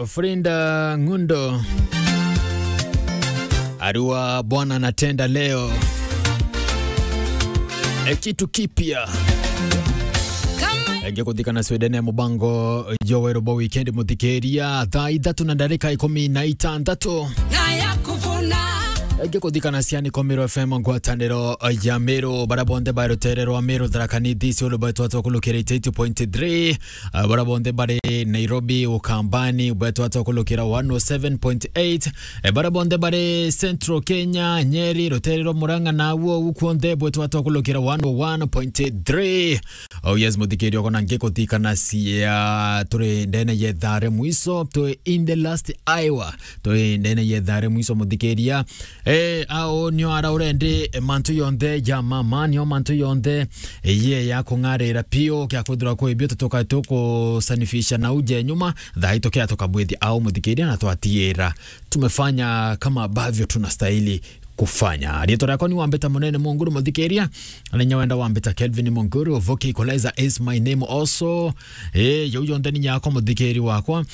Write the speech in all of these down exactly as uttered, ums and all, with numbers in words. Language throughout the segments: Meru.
Frida Ngundo. Arua Bwana anatenda leo. E, kitu kipya. Enge kuthikana Sweden ya mubango Joel bo weekend muthikiria thaa ithatu na ndarika ikumi na itandatu. Na ya kuvuna. Enge kuthikana ciani kwa Meru F M ngwataniro ya Meru, bara bonthe ba rutere rwa Meru, Tharaka Nithi, Isiolo, bwetwa twakulukira eighty-eight point three. Ah, bara bonthe bari Nairobi, Ukambani, bwetwa twakulukira one oh seven point eight. Eh, bara bonthe bari Central Kenya, Nyeri, rutere rwa Murang'a na uo ukwonde bwetwa twakulukira one oh one point three. Oh yes, muthikiria, uko na ngikuthikana cia turi ndene yethare mwiso, turi in the last hour, turi ndene yethare mwiso muthikiria. Eh, ao nio ara urendi, eh, mantu yonthe ja mama, nio mantu yonthe, eh, ye ya kung'arira pio, kia kwithirwa kwi bio tutuka tukusanifisha na uje nyuma, thaa itu kia tukabwithi ao muthikiria na twatiira. Tumefanya kama ambavyo tunastahili kufanya. Riitwa riakwa ni Wambita Munene Munguru muthikiria, na inya wenda Wambita Kelvin Munguru, Voki Equalizer is my name also. Eh, jau jonthe ni nyakwa muthikiri wakwa.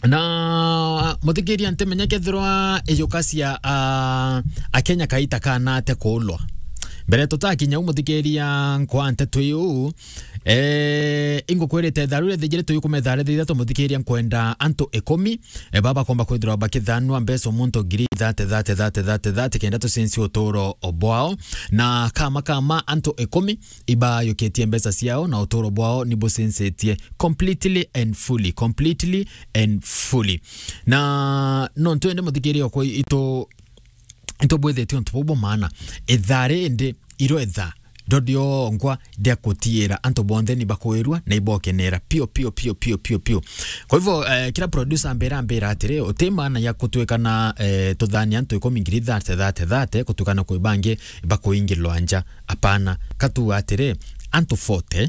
Na muthikiria ntimenya kethirwa ijuka cia, ah, Akenya kaita kanate kuulwa. Mbere tutakinya u muthikiria nkwa nteto iu, eh, ingukwirite tharu ithijire tuyu kumethare thitha tumuthikiria nkwenda antu ikumi, eh, baba komba kwithirwa bakithanua mbeca muntu ngiri thate, thate, thate, thate, thate, kenda tucinci uturo bwao. Na kama, kama antu ikumi ibayukitie mbeca ciao na uturo bwao ni bucincetie completely and fully, completely and fully. Na no ntwende muthikiria okwa itu, itu bwithitie untu bubu maana. Ithari indi iro itha ndodio nkwa ndia kutiira antu bonthe ni bakwirua na ibokenera pio, pio, pio, pio, pio, pio. Kwa hivyo, eh, kila producer ambira, ambira atiri, uti maana ya kutwikana, eh, tuthani antu ikumi ngiri thate, thate, thate, kutwikana kwi bangi bakuingirwa nja. Apana, katu atiri, antu forty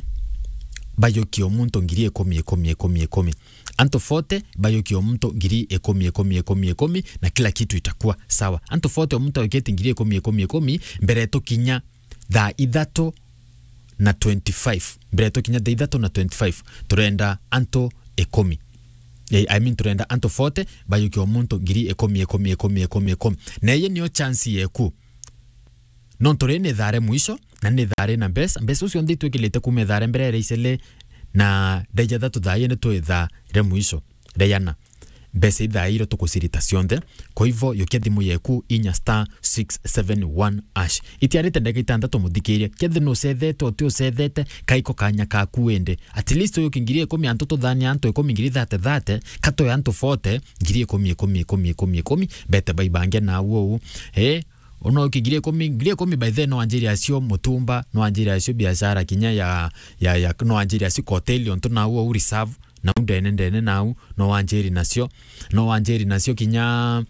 bayukie o muntu ngiri ikumi, ikumi, ikumi, ikumi. Antu forty bayukie o muntu ngiri ikumi, ikumi, ikumi, ikumi, na kila kitu itakuwa sawa. Antu forty o muntu ayukitie ngiri ikumi, ikumi, ikumi, mbere tukinya thaa ithatu na twenty-five. Mbere tukinya thaa ithatu na twenty-five, turenda antu ikumi. Eh, I mean, turenda antu forty bayukie o muntu ngiri ikumi, ikumi, ikumi, ikumi, ikumi. Na iyi niyo chance yeku. Nontu ri ni thaa ri mwisho, na ni thaa ri na mbeca. Mbeca ucio nthi twikilite kuma thaa ri mbere ya icele, na thaa ithatu thaa iri twi thaa ri mwisho. Ria iana. Mbeca ithaa iro tukucirita cionthe. Kwa hivyo, yukia thimu yeku, inya star six seven one hash. Itiarite ndagika itantatu muthikirie. Kethi nucethete, uti ucethete, kaiko kanya kaku wende. At least uyu kingiri ikumi antu tuthania antu ikumi ngiri thate thate, katoe antu forty, ngiri ikumi, ikumi, ikumi, ikumi, ikumi, bete baibange na uo u. Eh, uno kingiri ikumi, ngiri ikumi by then no anjiri acio mutumba, no anjiri acio biashara kinya ya, ya, ya, no anjiri acio hoteli ontu na uo u reserve. Nau ndene ndene nau, no wanjiri nacio, no wanjiri nacio kinya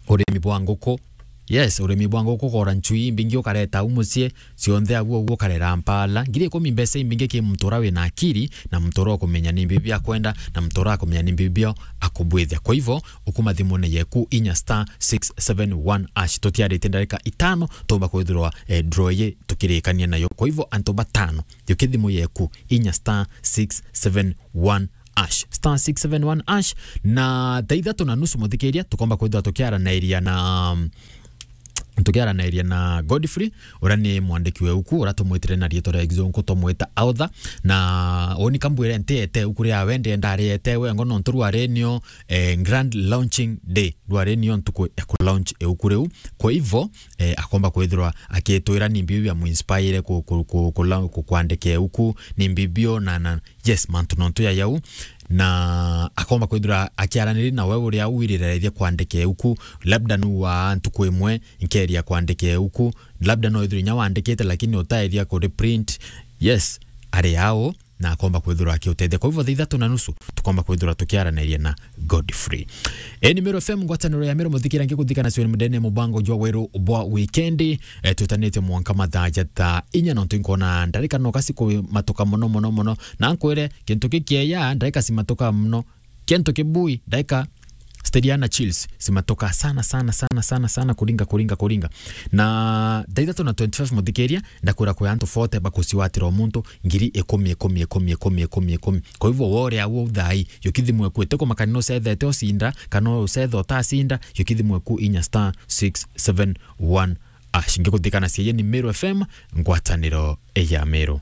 urimi bwa nguku. Yes, urimi bwa nguku, kora nchui imbingi ukareta au mucii, cionthe aguo uguo ukarera mpala. Ngiri ikumi mbeca imbingi ki muntu ura wina akiri, na muntu ura ukumenya ni mbibi akwenda, na muntu ura akumenya ni mbibi akubwithia. Kwa hivyo, ukuma thimune yeku inya star six seven one hash. Tutiarite ndarika itano, tumba kwithirwa, eh, draw iyi tukirikania nayo. Kwa hivyo, antu batano, yukia thimu yeku, inya star six seven one hash. Star six seven one hash. Na thaa ithatu na nusu muthikiria, tukomba kwithirwa tukiaranairia na, um, tukiaranairia na Godfrey, uria ni mwandiki wa iuku, uria tumwitire na riitwa ria Kizungu, tumwita author. Na uni kambwire ntiete iuku riawe, ndienda ariete wengo, nontu rwari nio, eh, grand launching day, rwari nio ntuku ya ku launch iuku riu. Kwa hivyo, eh, akomba kwithirwa akitwira ni mbiu ya muinspire ku, ku, ku, ku, ku, kwandika iuku, ni mbiu na, na, yes, mantu nontu ya yau. Na akomba kwithirwa akiaraniri na we uria wiriraithia kwandika iuku, labda nu wa ntuku imwe nkeria kwandika iuku, labda no ithirwa inya wandikite lakini utaithia ku reprint. Yes, ari au, na akomba kwithirwa akiutethia. Kwa hivyo, thaa ithatu na nusu, tukomba kwithirwa tukiaranairia na Godfrey. Eni Meru F M, ngwataniro ya Meru, muthikira ngikuthikana cio ni mudene mubango jwa weru bwa wikendi. Eh, twitanitie mwanka mathaa ja thaa inya, nontu nkona ndarika no kasi kumatuka muno, muno, muno. Na nkwire, kintu kikieya, ndarika cimatuka muno. Kintu kibui, ndarika Teriana chills simatoka sana sana sana sana sana kuringa kuringa kuringa. Na thaa ithatu na twenty-five, muthikiria, ndakwira kwi antu forty bakuciwatira o muntu ngiri ikumi, ikumi, ikumi, ikumi, ikumi, ikumi. Kwa hivyo wore au thai, yukithimwe ku, ite kumakania no ucethete ucinda kana ucetha utacinda, yukithimwe ku inya star six seven one ash. Ngikuthikana cia ni Meru F M, ngwataniro ya Meru.